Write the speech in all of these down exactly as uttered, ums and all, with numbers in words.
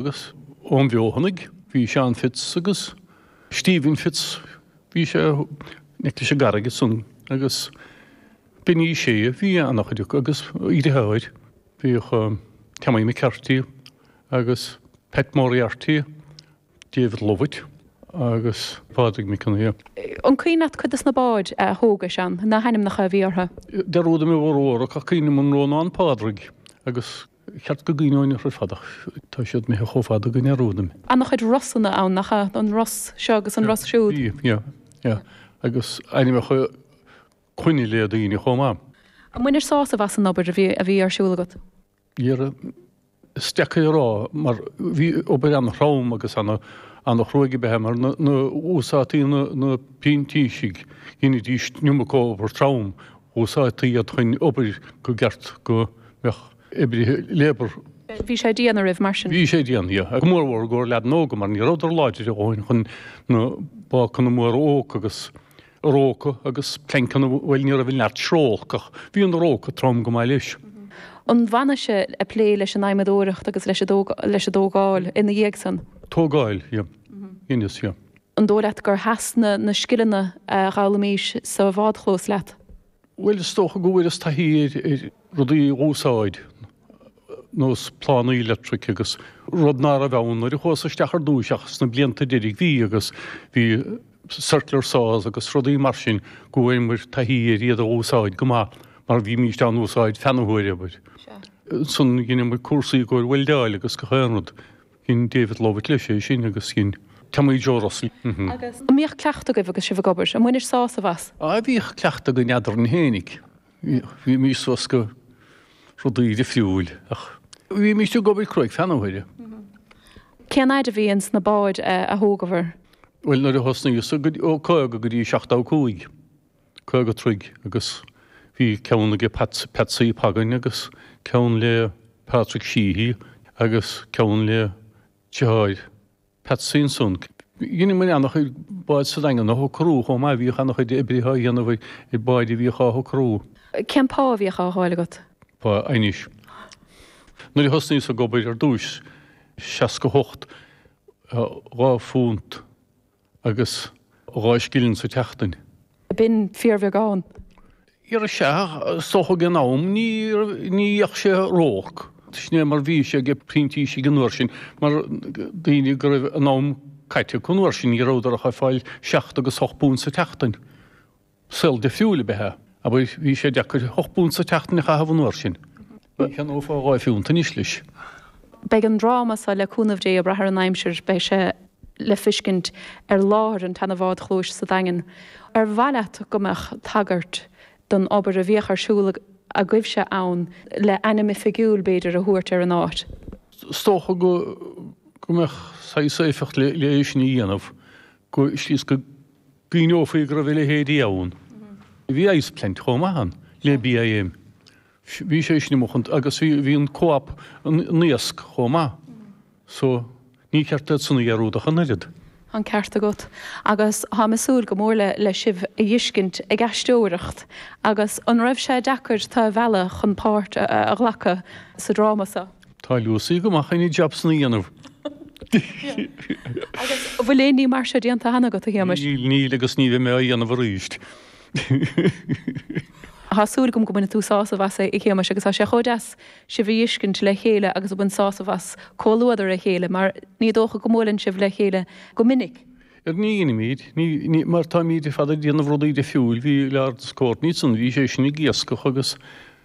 Agus ón bhFeothanaigh bhí Seán Fitz agus Stephen Fitz, bhí sé in aice leis an gcarraig ansan agus Benny Shea, bhí an-chuid acu agus a dheartháir, bhíodh Tommy McCarthy agus Pat Moriarty, David Lovett agus Pádraig Mac Con Aodha. An cuimhin leat cuid de na báid a thógais ann, na hainmneacha a bhí orthu? Dearúdaim a bhformhór acu ach cuimhním an Rónán Pádraig agus cheart go gcuimhneoinn orthu ar fad ach tá siad imithe chomh fada go ndearúdaim. An-chuid Rosanna ann, nach ea? An Ros seo agus an Ros siúd. Bhí, yeah, yeah. Agus ainmneacha clainne le daoine chomh maith. An mbainis sásamh as an obair a bhí a bhí ar siúl agat? Dhera, is deacair a rá mar bhí obair an-throm agus an-chruaidh ab ea mar na úsáidtí na printísigh, dheinidís an iomarca obair trom, úsáidtí iad chun obair go gceart go mbeadh oibrithe labour. Bhí sé dian oraibh mar sin? Bhí sé dian, yeah. Go mórmhór i gcomhair leaideanna óga mar ní rabhadar láidir a dhóthain chun na bácanna móra oak agus róca agus pleainceanna, bhuel ní raibh an neart srólc ach bhí an róca trom go maith leis. An bhfanais ag plé leis an adhmadóireacht agus leis an dtógáil ina dhiaidh san? Tógáil, yeah. Dheineas, yeah. An dóigh leat gur sheas na na scileanna a dh'fhoghlaimís sa bhádchlós leat? Bhuel is dócha go bhfuaireas taithí ar ar rudaí a dh'úsáid, nós plánaí leictric agus rud ná raibh ann nuair a chuas isteach ar dtúis ach sna blianta deiridh bhí agus bhí circular saws agus rudaí mar sin go bhfuaireamar taithí ar iad a úsáid go maith mar bhímíst á n-úsáid feadh na huaire, abair. Ansan dheineamar cúrsaí i gcomhair weildeáil agus gach aon rud. Dhein David Lovett leis é sin agus dhein Tommy Joe Russell. Agus an mbíodh cleachtadh agaibh agus sibh ag obair? An mbainis sásamh as? Á bhíodh cleachtadh againn eadrainn fhéinig. Bhímís suas go rudaí difriúil ach bhímís ag obair cruaidh feadh na huaire. Cén fhaid a bhí ins na báid a thógabhair? Bhuel nuair a thosnaíos ó caoga go dtí seachtó cúig, caoga troigh agus bhí ceann aige Patsy Pagain agus ceann le Patrick Sheehy agus ceann le deartháir Patsy ansan. Dheineamar an-chuid bád sa Daingean a shocrú chomh maith, bhíodh an-chuid oibrithe á dhéanamh ar báid a bhíodh á shocrú. Cén pá a bhíodh á fháil agat? Pá anois. Nuair a thosnaíos ag obair ar dtúis, seasca hocht, dhá phunt agus dhá scilling sa tseachtain. B'in fíorbheagán. Dhera sea, is dócha ag an am ní ní bheadh sé ró-olc. Sin é mar bhí sé ag printísigh an uair sin, mar daoine go raibh an am caite acu an uair sin, ní rabhadar ach ag fáil seacht agus ocht bpunt sa tseachtain. Saol difriúil ab ea é. Abair, bhí sé deacair ocht bpunt sa tseachtain a chaitheamh an uair sin. Ní cheannófá dhá phiúnt anois leis. Beidh an dráma seo, le cúnamh Dé, ag brath ar an aimsir, beidh sé le feiscint ar láthair an tseana-bhádchlóis sa Daingean. Ar mhaith leat go mbeadh tagairt don obair a bhíodh ar siúl agaibhse ann le ainm oifigiúil, b'fhéidir, a thabhairt ar an áit? Is dócha go go mbeadh saghas éifeacht le é sin a dhéanamh, go slí is go gcuimhneofaí go raibh a leithéidí ann. Bhí ice plant chomh maith ann le BIM. Bhí sé sin amuigh agus bhí an Co-op an iasc chomh maith. So ní ceart iad san a dhearúd ach an oiread. Tá an ceart agat. Agus táim ag súil go mór le le sibh a fheiscint ag aisteoireacht. Agus an raibh sé deacair tú a mhealladh chun páirt a ghlacadh sa dráma seo? Tá Lucy go maith chun an jab san a dhéanamh. Agus an bhfuil aon ní mar seo déanta cheana agat, a Shéamais? Níl, níl agus ní bheidh mé á dhéanamh arís. Tá súil agam go mbainfidh tú sásamh as, a Shéamais, agus tá sé chomh deas sibh a fheiscint le chéile agus ag baint sásamh as comhluadar a chéile, mar ní dócha go mbuaileann sibh le chéile go minic. Ar ní dheinimid, ní, ní, mar táimid ar fad ag déanamh rudaí difriúil, bhí Laurence Courtney ansan, bhí sé sin ag iascach agus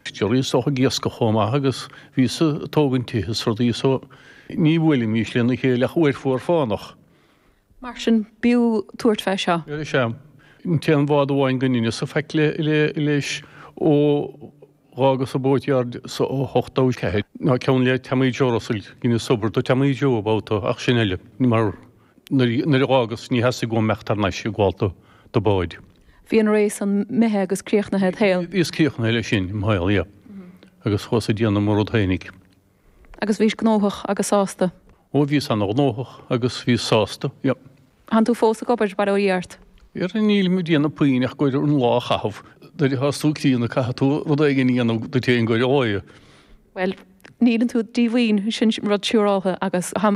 Gerry is dócha ag iascach chomh maith agus bhíos-sa ag tógaint tithe is rudaí so ní bhuailimís lena chéile ach uair fuar fánach. Mar sin, b'fhiú tabhairt fé seo. Is ea. An t-aon bhád amháin go ndeineas-sa faic leis ó dh'fhágas an boatyard sa ochtó ceathair ná ceann le Tommy Joe Russell, dheineas obair do Tommy Joe babhta ach sin uile, mar nuair a dh'fhágas ní theastaigh uaim imeacht thar n-ais ag gabháil do báid. Bhí an ré san imithe agus críochnaithe id shaol. Bhíos críochnaithe leis sin im shaol, yeah. Agus chuas ag déanamh mo rud fhéinig. Agus bhís gnóthach agus sásta. Ó bhíos ana-ghnóthach agus bhíos sásta, yeah. Tánn tú fós ag obair, bail ó Dhia ort. Ar nílim ag déanamh puinn ach ag iarraidh an lá a chaitheamh. Nuair atá tú críonna caithfidh tú rud éigin a dhéanamh duit féin go leor. Bhuel, Níl tú díomhaoin sin rud siúráltha agus táim